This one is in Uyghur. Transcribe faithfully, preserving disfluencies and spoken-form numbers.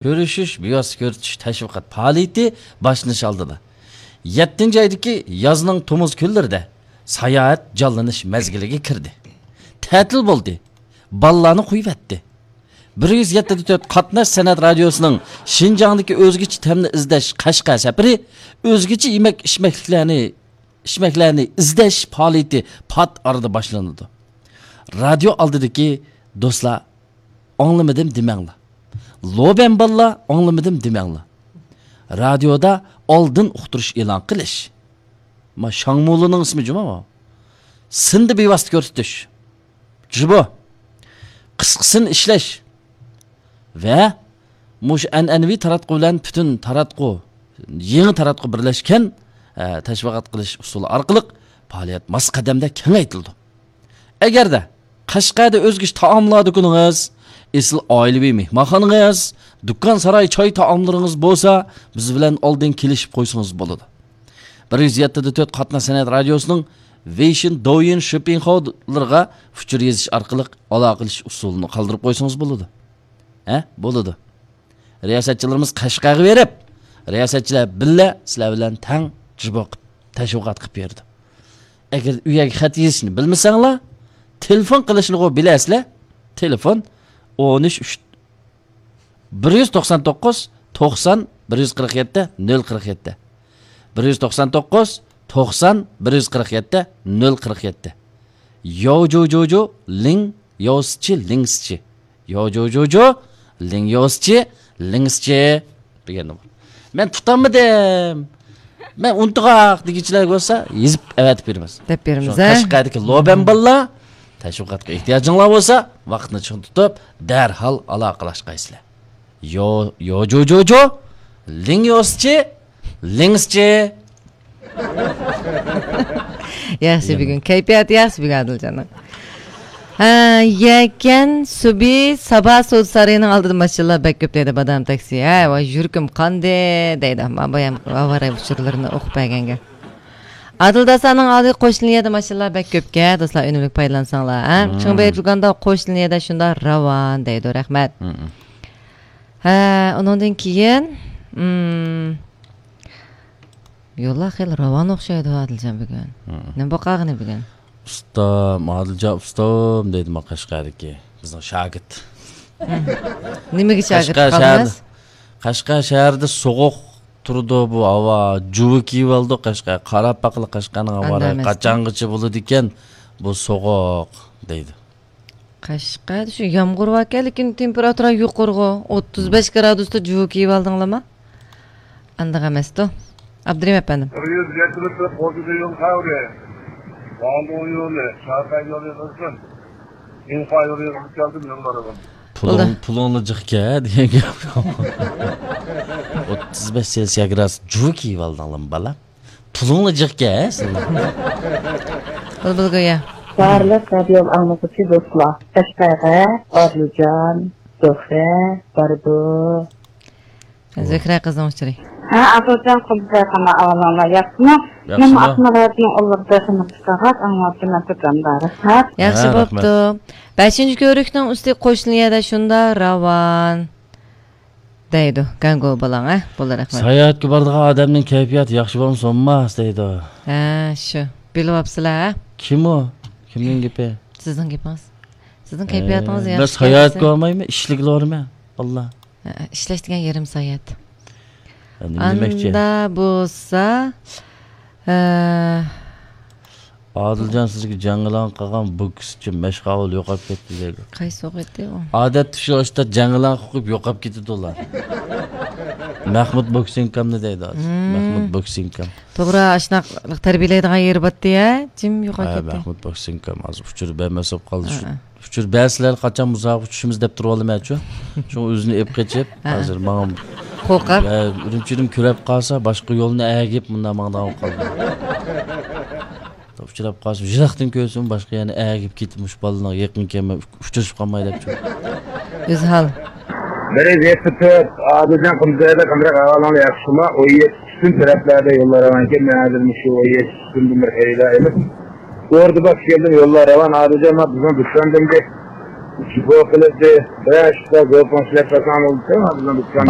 كۆرۈشۈش، بىۋاسىتە كۆرسىتىش تەشۋىقات پائالىيىتى باشلىنىش ئالدىدا. يەتتىنچى ئايدىكى يازنىڭ تومۇز كۈنلىرىدە ساياھەت جانلىنىش مەزگىلىگە كىردى. تەتىل بولدى. بالىلارنى قويۇۋەتتى. بىر يۈز يەتتە تۆت قاتناش سەنئەت رادىيوسىنىڭ شىنجاڭدىكى ئۆزگىچە تەمنى ئىزدەش قەشقەر سەپىرى ئۆزگىچە يېمەك ئىچمەكلىكلەرنى، ئىچمەكلەرنى ئىزدەش پائالىيىتى پات ئارىدا باشلىنىدۇ. رادىيو ئالدىدىكى دوستلار، ئاڭلىمىدىم دېمەڭلار. لوبەن بالىلار، ئاڭلىمىدىم دېمەڭلار. رادىيودا ئالدىن ئۇقتۇرۇش ئېلان قىلىش. ما شاڭمۇلىنىڭ ئىسمى جۇما ما. سىندا بىۋاسىتە كۆرسىتىش. جۇبو. قىسقىسىنى ئىشلەش. ۋە مۇشۇ ئەنئەنىۋى تاراتقۇ بىلەن پۈتۈن تاراتقۇ، يېڭى تاراتقۇ بىرلەشكەن، ئە، تەشۋىقات قىلىش ئۇسۇلى ئارقىلىق پائالىيەت ماس قەدەمدە كېڭەيتىلىدۇ. ئەگەردە قەشقەردە ئۆزگىچە تائاملار دۇكىنىڭىز، ئېسىل ئائىلىۋى مېھمانخانىڭىز، دۇكان ساراي چاي تائاملىرىڭىز بولسا، بىز بىلەن ئالدىن كېلىشىپ قويسىڭىز بولىدۇ. بىر يۈز يەتتە تۆت قاتناش سەنئەت رادىيوسىنىڭ ۋېيشىن، دوۋيىن، شىپىڭخاۋلىرىغا ئۇچۇر يېزىش ئارقىلىق ئالاقىلىشىش ئۇسۇلىنى قالدۇرۇپ قويسىڭىز بولىدۇ. ھە؟ بولىدۇ. رىياسەتچىلىرىمىز قەشقەرگە بېرىپ، رىياسەتچىلەر بىللە سىلەر بىلەن تەڭ جۇبو قىپ، تەشۋىقات قىپ بېرىدۇ. ئەگەر ئۇ يەرگە خەت يېزىشنى بىلمىسەڭلار، تېلېفون قىلىشنىغۇ بىلەسىلەر. تېلېفون ئون ئۈچ، بىر يۈز توقسان توققۇز، توقسان، بىر يۈز قىرىق يەتتە، نۆل قىرىق يەتتە. بىر يۈز توقسان توققۇز، توقسان، بىر يۈز قىرىق يەتتە، نۆل قىرىق يەتتە. ياۋ جو جو جو، لىڭ ياۋ سىچى، لىڭ سىچى. ياۋ جو جو جو، لىڭ ياۋ سىچى، لىڭ سىچى. دېگەندە بار. مەن تۇتالمىدىم. مەن ئۇنتۇغاق دېگۈچىلەر بولسا، يېزىپ ئەۋەتىپ بېرىمىز. دەپ بېرىمىز، شۇڭا ھە؟ قەشقەردىكى لوبەن بالىلار، تەشۋىقاتقا ئېھتىياجىڭلار بولسا، ۋاقىتنى چىڭ تۇتۇپ، دەرھال ئالاقىلەشكەيسىلەر. يو، يو جو جو جو، لىڭ يوسچى، لىڭسچى. ياخشى بۈگۈن، كەيپىياتى ياخشى بۈگۈن ئادىلجاننىڭ. ھە، يەكەن سۇبى سابا سودا سارىيىنىڭ ئالدىدا ماشىنىلار بەك كۆپ دەيدۇ، بادام تاكسى. ھە، ۋاي، يۈرىكىم قاندى دەيدۇ. مانا بۇ ھەم ئاۋارە ئۇچۇرلىرىنى ئوقۇپ بەرگەنگە. ئادىل داسانىڭ ئالدى قوش لىنىيەدە ماشىنىلار بەك كۆپكەن، دوستلار، ئۈنۈملۈك پايدىلانساڭلار، ھە؟ مم. چىڭ بېيىپ دۇكاندا قوش لىنىيەدە شۇنداق راۋان دەيدۇ، رەھمەت. مم. ھە، ئۇنىڭدىن كېيىن، مم، يوللار خېلى راۋان ئوخشايدۇ، ئادىلجان بۈگۈن. مم. نېمە بولۇپ قالغىنى بۈگۈن؟ ئۇستام، ئادىلجان ئۇستام دەيدۇ ماڭا قەشقەردىكى بىزنىڭ شاگىرت. مم. نېمىگە شاگىرت قەشقەر شەھەردە، قالدىڭىز؟ قەشقەر شەھىرىدە سوغۇق تۇرىدۇ بۇ ھاۋا، جۇۋا كىيىۋالدۇق قەشقەر. قاراپ باقىلى قەشقەرنىڭ ھاۋا رايى قاچانغىچە بولىدىكەن بۇ سوغۇق دەيدۇ. قەشقەردە شۇ يامغۇر باركەن، لېكىن تېمپېراتۇرا يۇقىرىغۇ، ئوتتۇز بەش گرادۇستا جۇۋا كىيىۋالدىڭلارمۇ؟ ئانداق ئەمەستۇ. ئابدۇرېھىم ئەپەندىم. بىر يۈز يەتمىش تۆت قوشۇن يول خەۋىرى. ۋاڭدۇڭ يولى، شارپەي يولى قىلسۇن. ئىنقا يولى قىلسۇن، يوللارغا. پۇلۇڭ، بولدى. پۇلۇڭلا جىقكە دېگەن گەپ. ئوتتۇز بەش سېلسىيە گرادۇس جۇۋا كىيىۋالدىڭلارمۇ، بالا؟ پۇلۇڭلا جىقكە، ھە، سىلەر؟ بۇلبۇل گويا. بارلىق رادىيو ئاڭلىغۇچى دوستلار، قەشقەرگە ئادىلجان، زۆھرە بارىدۇ. زۆھرە قىزنىڭ ئۇچۇرى. ھە، ئادىلجان قۇمساي قانا ئاۋالىڭلار ياخشىمۇ؟ ياخشىمۇ؟ مەن ئاقمىرادنىڭ ئۇللۇق دېخىنى قىسقاغاق ئاڭلاۋاتىمەن، تۇرامدا رەھمەت. ياخشى ھە، بوپتۇ. رەھمەت. بەشىنچى كۆۋرۈكنىڭ ئۈستى قوشنا يەردە شۇنداق راۋان. دەيدۇ، گاڭگو بالاڭ، ھە؟ بولدى، رەھمەت. ساياھەتكە بارىدىغان ئادەمنىڭ كەيپىياتى ياخشى بولمىسا بولماس دەيدۇ. ھە، شۇ. بىلىۋاپسىلەر، ھە؟ كىم ئۇ؟ كىمنىڭ گېپى؟ سىزنىڭ گېپىڭىز. سىزنىڭ كەيپىياتىڭىز ئە، ياخشى مەن ساياھەتكە بارمايمەن، ئىشلىكلا بارىمەن. ئاللا. ھە، ئىشلەش دېگەن يېرىم ساياھەت. ئەمدى نېمە دېمەكچى؟ ئاندا بولسا، ھە، ئادىلجان سىزگە جاڭگىلاڭ قىلغان بوكسچى مەشقاۋۇل يوقاپ كەتتى دەيدۇ. قايسى ئوقۇيتتى ئۇ؟ ئادەتتە شۇ ئاشتا جاڭگىلاڭ قوقۇپ يوقاپ كېتىدۇ ئۇلار. مەخمۇت بوكسىنكامنى دەيدۇ ھازىر. مم. مەخمۇت بوكسىنكام. توغرا، ئاشۇنداق تەربىيەلەيدىغان يېرى بارتتى ھە؟ جىم يوقاپ ھە، كەتتى. مەخمۇت بوكسىنكام ھازىر ئۇچۇر بەرمەسە بولۇپ قالدى شۇ. ھە. ئۇچۇر بەرسىلەر قاچان مۇسابىقىگە چۈشىمىز دەپ تۇرۇۋالىمەنچۇ. شۇڭا ئۆزىنى ئېپ قېچىپ، ھە. ھازىر ماڭا قورقاپ. ھە، ئۈرۈمچىدىن كۆرۈپ قالسا، باشقا يولنى ئەگىپ مۇنداق ماڭىدىغان بولۇپ قالدى. ئۇچراپ قالسا، يىراقتىن كۆرسىمۇ، باشقا يەرنى ئەگىپ كېتىپ، مۇشۇ بالىلارغا يېقىن كەلمەي، ئۇچرىشىپ قالماي دەپچۇ. ئۆزھال. بىر يۈز يەتتە تۆت، ئادىلجان قۇمسايدا قانداق ئەھۋالىڭلار ياخشىمۇ؟ ئون يەتتە پۈتۈن تەرەپلەردە يوللار راۋانكەن، مەن ھازىر مۇشۇ ئون يەتتە پۈتۈندىن بىر خېرىدار ئېلىپ، ئوردا باش كەلدىم، يوللار راۋان، ئادىلجان، مانا بىزنىڭ دۈكاندىن بىر شۇ قىلىپ بىر ئىشتا گۇرۇپپىڭىز ئىشلەپ بەرسەڭ بولىدۇ.